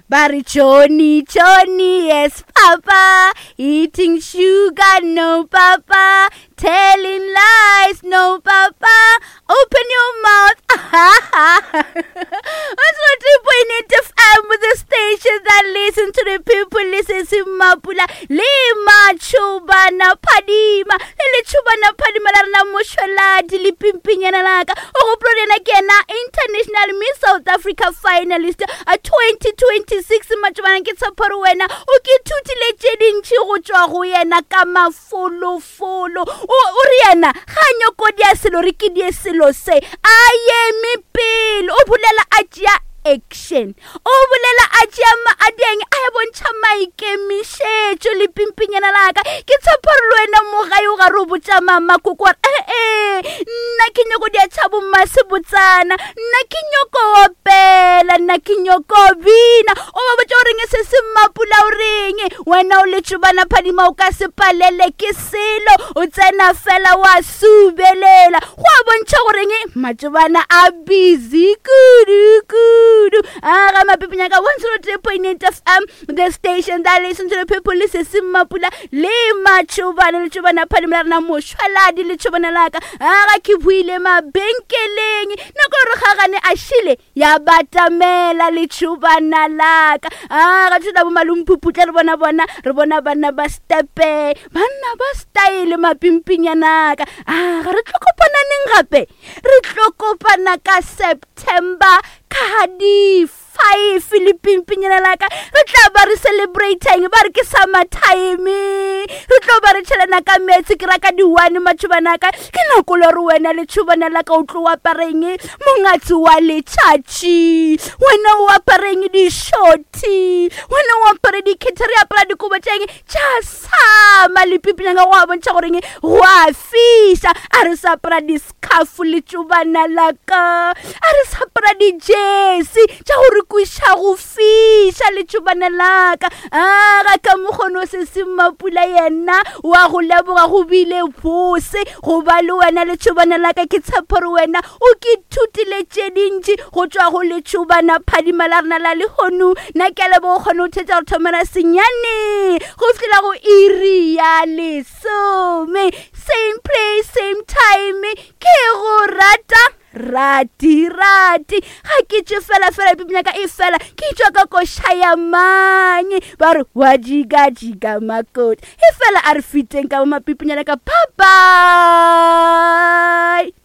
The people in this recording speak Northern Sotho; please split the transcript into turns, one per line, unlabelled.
Ba re Johnny, Johnny, yes papa, eating sugar, no papa, telling lies, no papa, open your mouth. 103.8 FM, the station that listen to the people, listen to Mapula, le Machubana Phadima, le Lechubana Phadima la rena mošweladi le pimpinyana laka. O gopola yena ke yena International Miss South Africa finalist a 2026 matšobana ke tshepo gore wena o ke ithutile tše dintši go tšwa go yena ka mafolofolo o re yena ga a nyoko dia selo re ke die selo se a eme pele o bolela a tšea action o bolela a tšea a dieng a ya bontšha maikemišetšo le pimpinyana laka ke tshepo gore le wena mo gae o gare o botša mama koko gore ee nna ke nyoko dia tšha bommasebotsana nna ke nyoko opela nna ke nyoko bina o ba botša goreng se se mmapula o reng wena o letšobana phadima o ka se palele ke selo o tsena fela wa subelela go a bontšha goreng matšobana a busy kudu kudu a ga mapipinyaka 103.8 fm the station that listen to the people le se se mmapula le matšobana letšobana phadimo la rena mošwaladi letšobana laka a ga ke buile mabenkeleng nako gore gagane a šile ya batamela letšobana laka a ga tšona bo malomphuputla re bona bona re bona banna ba stepe banna ba style mapimpinyanaka a ga re tlo kopananeng gape re tlo kopana ka september ka di 5 le pimpinyana laka re tla ba re celebrating ba re ke summer time re tlo ba re tšhelana ka meetse ke raka di-one matšhobanaka ke nako le gore wena letšhobana laka o tlo apareng mongatsi wa letšatši wena o apareng dišothi wena o apare dikhethe re apara dikobo tšeng tša sama lepipinyanga go a bontšha goreng go a fiša a re sa apara discarf letšobana laka a re sa apara dijesi tša go re kweša go fiša letšobana laka a ga ka mokgono se se mmapula yena wa go leboga go bile bose go ba le wena letšobana laka ke tshepo gore wena o ke ithutile tše dintši go tšwa go letšobana phadima la rena la lehono nna ke a leboga o kgone go thetša go thomela senyane go fihlela go iri ya lesome same place same time ke go rata rati rati ga ke tše fela fela pipinyaka e fela ke tšwa ka koša ya mang ba re wa jikajika makoti e fela a re fiteng ka bo mapipinyana ka bye bye.